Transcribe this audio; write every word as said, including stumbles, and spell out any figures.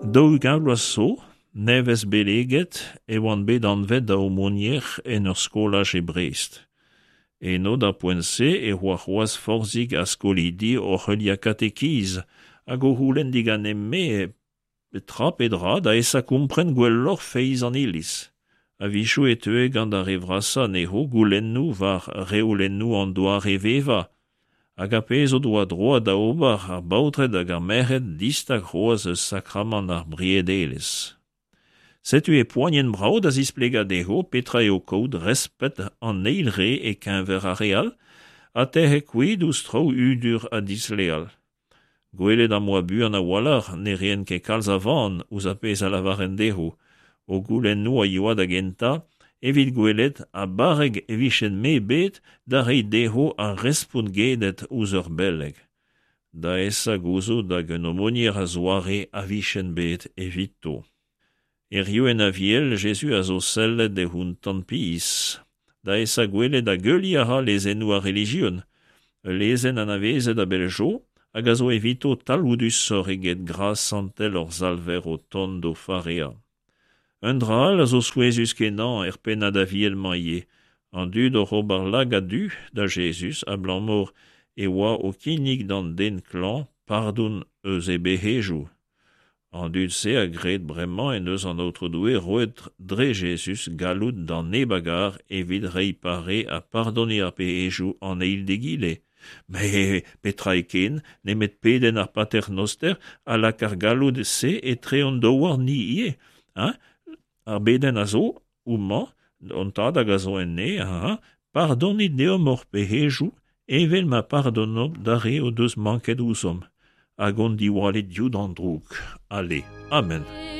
Daou-ugent vloaz zo, nevez beleget, e oan bet anvet da aomonier en ur skolaj e Brest. Eno, d'ar poent-se, e oa c'hoazh forzhik a skolidi oc'h heuliañ katekiz hag o c'houlenn diganin-me tra pe dra da esa kompren gwelloc'h feiz an Iliz. A-wechoù e teue gant ar re vrasañ anezho goulennoù war reolennoù an doare-vevañ hag ar pezh o doa droad da ober ar baotred hag ar merc'hed distag c'hoazh eus sakramant ar briedelezh. Setu e poanien brav da zisplegañ dezho petra eo kaout respet an eil re e-keñver ar re all ha tec'het kuit ouzh traoù hudur ha disleal. Gwelet am boa buan a-walc'h ne raent ket kalz a van ouzh ar pezh a lavaren dezho. O goulennoù a yoa da gentañ evit gwelet ha barrek e vijen-me bet da reiñ dezho ar respont gedet ouzh ur beleg. Da esa gouzout hag un aomonier a-zoare a vijen bet evito. Hiziv en Aviel, Jezuz a zo sellet e outañ pizh, da esa gwelet hag heuliañ a ra lezennoù ar relijion. Ul lezenn anavezet a-bell zo hag a zo evito talvoudusoc'h eget gras santel hor Salver o tont d'o fareañ. Un dra all a zo souezhus-kenañ er pennad Aviel-mañ ivez, an dud oc'h ober lagad du da Jezuz abalamour e oa o kinnig d'an den klañv pardon eus e bec'hedoù. An dud-se a gred bremañ en deus an Aotrou Doue roet dre Jezuz galloud d'an neb a gar evit reiñ pare ha pardoniñ ar pec'hedoù an eil d'egile. Met petra eo ken nemet pedenn ar Pater Noster a lak ar galloud-se etre hon daouarn-ni ivez, hein? Ar bedenn a zo homañ, hon tad hag a zo en neñv, pardonit deomp hor pec'hedoù evel ma pardonomp d'ar re o deus manket ouzhomp. Hag hon diwallit diouzh an droug. Ale, amen.